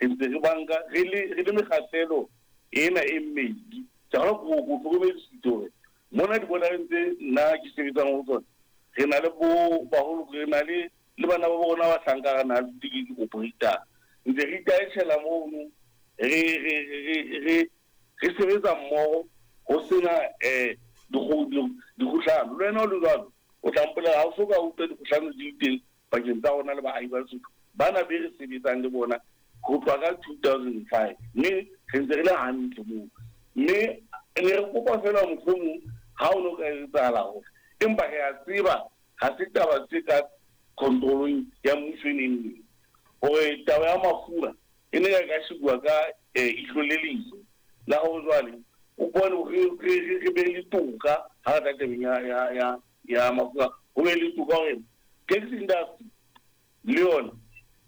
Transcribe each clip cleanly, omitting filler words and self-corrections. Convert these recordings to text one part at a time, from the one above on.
Re ntse re banka re le mekgahlelo ena e mmedi. Ke kgolwa ko hlokomedisitse hore mona di-bordereng tse nna ke sebetsang ho tsona, re na le bo baholo, re na le bana ba rona ba hlanka re na le di-operator. Ntse re itaetjhela mono, re sebetsa mmoho ho sena dikgohlano. Le wena o le jwalo, o tla mpolela ha o so ka utlwa dikgohlano di le teng pakeng tsa rona le baahi ba Lesotho bana be re sebetsang le bona ho tloha ka 2005, mme re ntse re le hantle moo. Mme ne re kopa fela mohlomong ha o no ka etsahala hore, empa re a tseba ha se taba tse ka controlong ya mmuso e neng neng, hore taba ya mafura e ne ka shebuwa ka ihlo le leihlo la hore jwale o bone re be le toka ha re tla tabeng ya mafura, ho be le toka hore taxi industry le yona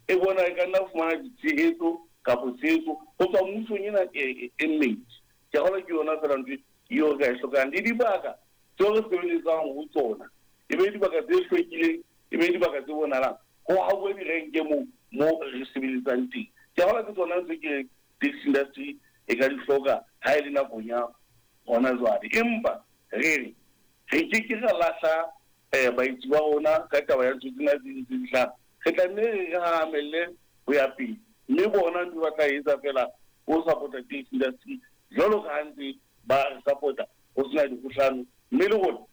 e bona e ka nna fumana ditshehetso kapo tshehetso ho tswa mmusong ena e mmedi. Ke kgolwa ke yona fela ntho eo re ka e hlokang, le dibaka tseo re sebeletsang ho tsona e be dibaka tse hlwekileng, e be dibaka tse bonahalang, ho hauwe direnke moo re sebeletsang teng. Ke kgolwa ke tsona tse ke reng taxi industry e ka di hloka ha e le nakong ya hona jwale. Empa re re re ke ke ra lahla baetsi ba rona ka taba ya ntho tsena tse ntse di hlaha. Re tla nne re hahamelle ho ya pele, mme bona ntho ba tla etsa fela ho support-a taxi industry jwalo ka ha ntse ba re support-a ho sena dikgohlano. Mme le rona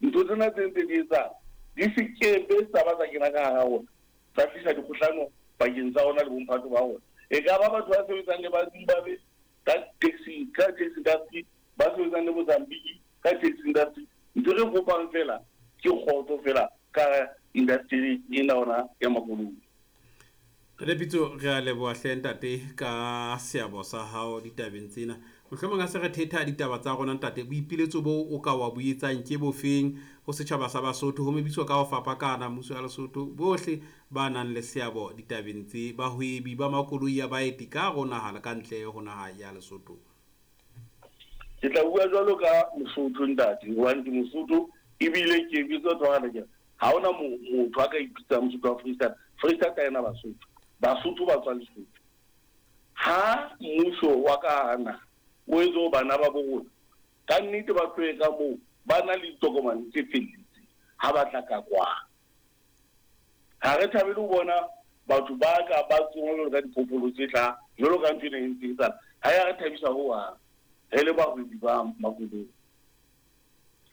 ntho tsena tse ntse di etsahala di se kebe tsa ba tsa kena ka hara rona, tsa tlisa dikgohlano pakeng tsa rona le bomphato ba rona. E ka ba batho ba sebetsang le ba Zimbabwe ka taxi industry, ba sebetsang le Mozambique ka taxi industry, ntho re kopang fela ke kgotso fela ka industry ena ona ya makoloi. Ntate Pitso, re a leboha hle ntate ka seabo sa hao ditabeng tsena. Mohlomong a se re thetha ditaba tsa rona ntate, boipiletso bo o ka wa bo etsang ke bofeng ho setjhaba sa Basotho, ho mebitso ka ho fapakana, mmuso ya Lesotho, bohle ba nang le seabo ditabeng tse, bahwebi ba makoloi a baeti ka hare ho naha le ka ntle ho naha ya Lesotho? Ke tla bua jwalo ka Mosotho ntate, hobane ke Mosotho ebile ke bitsa tswala ke ha hona motho a ka ipitsang Mosotho wa Freistata. Freistata ena Basotho, Basotho ba tswa Lesotho. Ha mmuso wa ka hara naha o etse hore bana ba bo rona ka nnete ba tlohe ka moo ba na le ditokomane tse felletseng ha ba tla ka kwano. Ha re thabele ho bona batho ba ka ba tsongwa jwalo ka diphoofolo tse hlaha, jwalo ka ntho ena e ntse e etsahala. Ha ya re thabisa hohang re le bahwebi ba makoloi.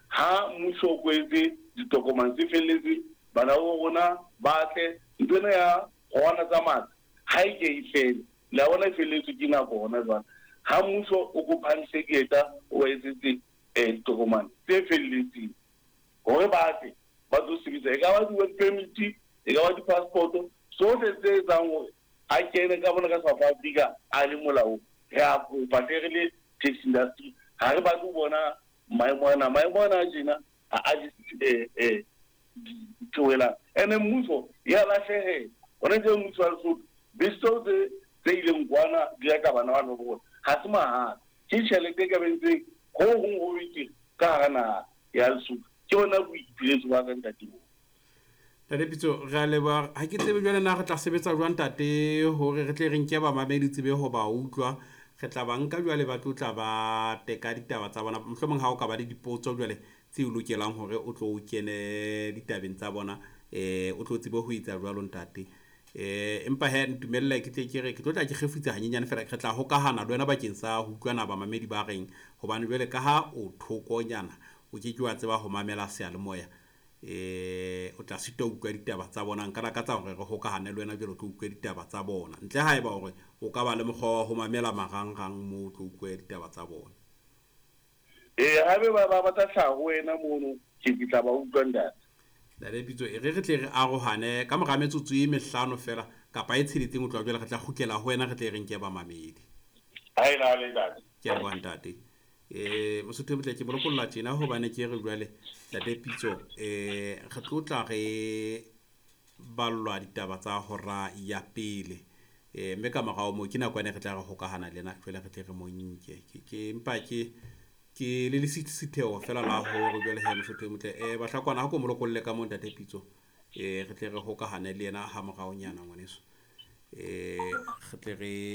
Ha mmuso o kwetse ditokomane tse felletseng, bana ba rona ba tle. Ntho ena ya rona tsa matla ha e ke e fele, le a bona e felletswe ke nako hona jwale. Ha mmuso o ko phahamise dieta, o ba etsetse ditokomane tse felletseng hore ba tle ba tlo sebetsa, e ka ba di-work permit, e ka ba di-passport, sohle tse etsang hore a kene ka bona ka South Africa a le molaong. Re a kopa hle re le taxi industry, ha re batle ho bona maemo ana a tjena ha a ditheohelang. Ene mmuso ya lahlehela hona tje, mmuso wa Lesotho, bese tseo tse ileng kwana di reka bana bana ba rona ha se mahala, ke tjhelete e ka bentseng ho hong ho betere ka hara naha ya Lesotho. Ke bona boipiletso ba ka ntate moo. Ntate Pitso, re a leboha. Ha ke tsebe jwale na re tla sebetsa jwang ntate hore re tle re nke bamamedi tsebe ho ba utlwa. Re tla ba nka jwale ba tlo tla ba teka ditaba tsa bona. Mohlomong ha o ka ba le dipotso jwale tse o lokelang hore o tlo o kene ditabeng tsa bona, o tlo tsebe ho etsa jwalo ntate. Empa he ntumelle ke tle ke re ke tlo tla ke kgefutsa hanyenyane fela, re tla hokahana le wena bakeng sa ho utlwana bamamedi ba reng, hobane jwale ka ha o thokonyana o ke ke wa tseba ho mamela seyalemoya, o tla sitwa ho utlwa ditaba tsa bona. Nka lakatsa hore re hokahane le wena jwale o tlo utlwe ditaba tsa bona, ntle haeba hore o ka ba le mokgwa wa ho mamela marangrang moo o tlo utlwe ditaba tsa bona. Ee, haebe ba tla hlaha ho wena mono, ke tla ba utlwa ntate. Ntate Pitso, e re re tle re arohane ka mora metsotso e 5 fela kapa e 6, o tloha jwale re tla kgutlela ho wena, re tle re nke bamamedi. Ha e nale ntate. Ke a leboha ntate. Mosotho e motle, ke bolokolla tjena hobane ke re jwale ntate Pitso, re tlo tla re ballwa ditaba tsa hora ya pele, mme ka morao moo ke nako ene re tla re hokahana le ena jwale re tle re mo nke. Ke empa ke le lesisitheho fela la hore jwale he mosotho e motle, Bahlakwana, ha ko mo lokolle ka moo ntate Pitso, re tle re hokahane le yena ha moraonyana ngwaneso, re tle re